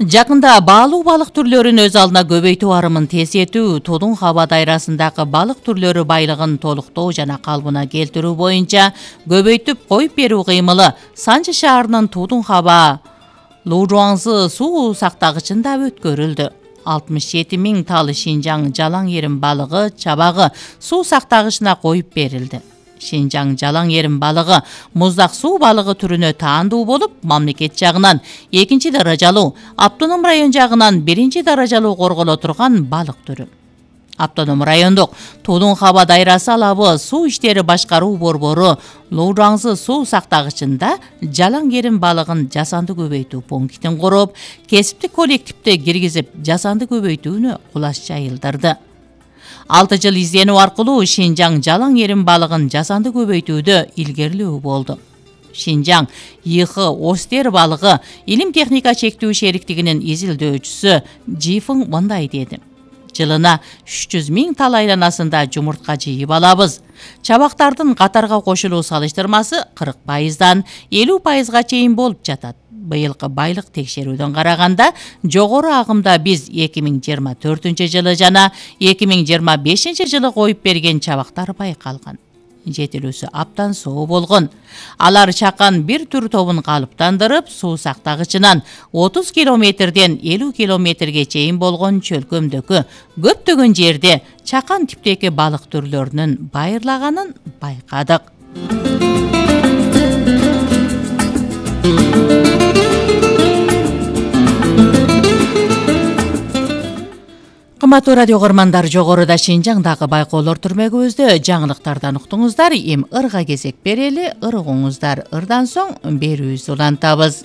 Жакында баалуу балык түрлөрүн өз алдына көбөйтүү арымын тездетүү, Тодун хаба дайрасындагы балык түрлөрү байлыгын толуктоо жана калыбына келтирүү боюнча көбөйтүп коюп берүү кыймылы Санчы шаарынын Тодун хаба Лужуаңзы суу сактагычында өткөрүлдү. 67 000 талы Шинжаң жалаң ерим балыгы чабагы суу сактагычына коюп берилди. Шинжаң жалаң ерим балыгы муздак суу балыгы түрүнө таандуу болуп, мамлекет жагынан 2 даражалуу, автоном район жагынан 1 даражалуу корголо турган балык түрү. Автоном райондук Тодун хаба дайрасы алабы суу иштери башкаруу борбору Лужуаңзы суу сактагычында жалаң ерим балыгын жасанды көбөйтүү пунктин куруп, кесиптик коллективди киргизип, жасанды көбөйтүүнү кулаш жайылдырды. 6 жыл изденүү аркылуу Шинжаң жалаң ерим балыгын жасанды көбөйтүүдө илгерилөө болду. Шинжаң ИХ Остер балыгы илим техника чектүү шериктигинин изилдөөчүсү Жифың мындай деди: жылына 300 000 тал айланасында жумуртка жыйып алабыз. Чабактардын катарга кошулуу салыштырмасы 40%дан 50%га чейин болуп жатат. Быйылкы байлык текшерүүдөн караганда жогору агымда биз 2024 жылы жана 2025 жылы коюп берген чабактар байкалган. Жетилүүсү аптан соо болгон. Алар чакан бир түр тобун калыптандырып, суу сактагычынан 30 километрден 50 километрге чейин болгон чөлкөмдөгү көптөгөн жерде чакан типтеги балык түрлөрүнүн байырлаганын байкадык. Кымбаттуу радио көрмандар, жогоруда Шинжаңдагы байкоолор түрмөгүбүздө жаңылыктардан уктуңуздар. Эми ырга кезек берели, ыргыңыздар ырдан соң берүүбүздү улантабыз.